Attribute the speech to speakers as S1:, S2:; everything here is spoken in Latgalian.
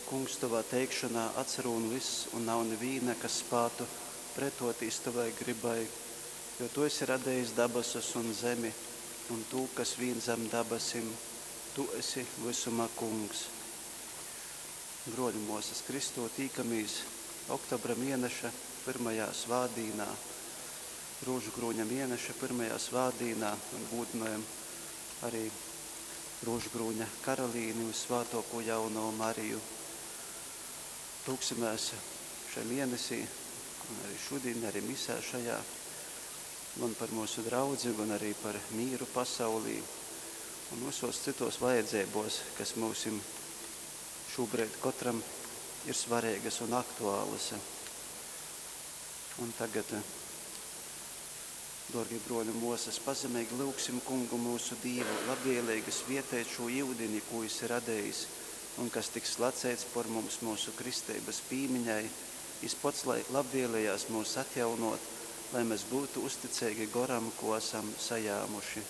S1: Kungs, tovā teikšonā atsarūn vyss, un nav nivīna, kas spātu pretōtīs tovai grybai, jo tu esi radejis dabasus un zemi, un tū, kas vīn zam dabasim. Tu esi vysuma Kungs. Brōļi, mōsas, Kristū tīkamīs oktobra mieneša pyrmajā svātdīnā, Rūžukrūņa mieneša pyrmajā svātdīnā un gūdynojam arī Rūžukrūņa karalīni Vyssvātōkū Jaunovu Mariju. Lūgsimēs šai mienesī, un arī šodien, arī misē šajā, gan par mūsu draudzi, gan arī par mīru pasaulī un visos citos vajadzībos, kas mūsim šobrīd katram ir svarīgas un aktuālas. Un tagad, dārgie broļi un mosas, pazemīgi lūgsim Kungu mūsu Dīvu, labvēlīgi svietēt šo iudini, ko Jis ir radējis, un kas tiks slacēts par mums mūsu kristības pīmiņai, Jis pats lai labvēlējās mūs atjaunot, lai mēs būtu uzticīgi goram, ko esam sajāmuši.